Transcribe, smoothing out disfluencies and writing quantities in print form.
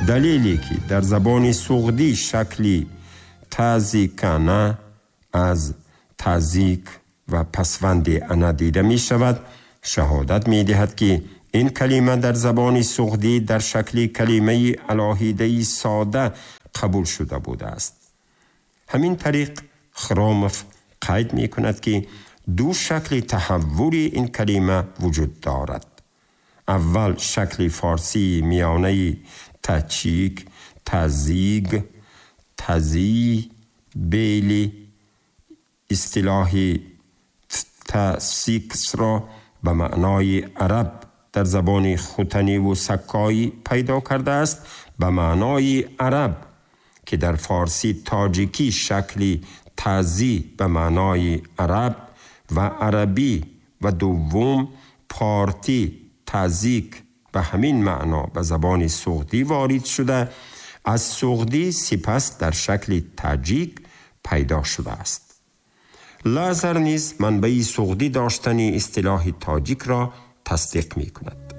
Далеле ки дар забони суғдӣ шакли тазикана аз тазик ва пасванди ана дида мешавад, шаҳодат медиҳад, ки ин калима дар забони суғдӣ дар шакли калимаи алоҳидаи сода қабул шуда будааст. Ҳамин тариқ, Хромов қайд мекунад, ки ду шакли таҳаввули ин калима вуҷуд дорад. Аввал, шакли форсии миёнаи тачик, тазиг, тазӣ, бели истилоҳи тасиксро ба маънои араб дар забони хутаниву саккоӣ пайдо кардааст, ба маънои араб, ки дар форсӣ тоҷикӣ шакли тазӣ ба маънои араб ва арабӣ ва дуввум, портӣ тазик ба ҳамин маъно ба забони суғдӣ ворид шуда, аз суғдӣ сипас дар шакли таҷик пайдо шудааст. Лазар низ манбаи суғдӣ доштани истилоҳи тоҷикро тасдиқ мекунад.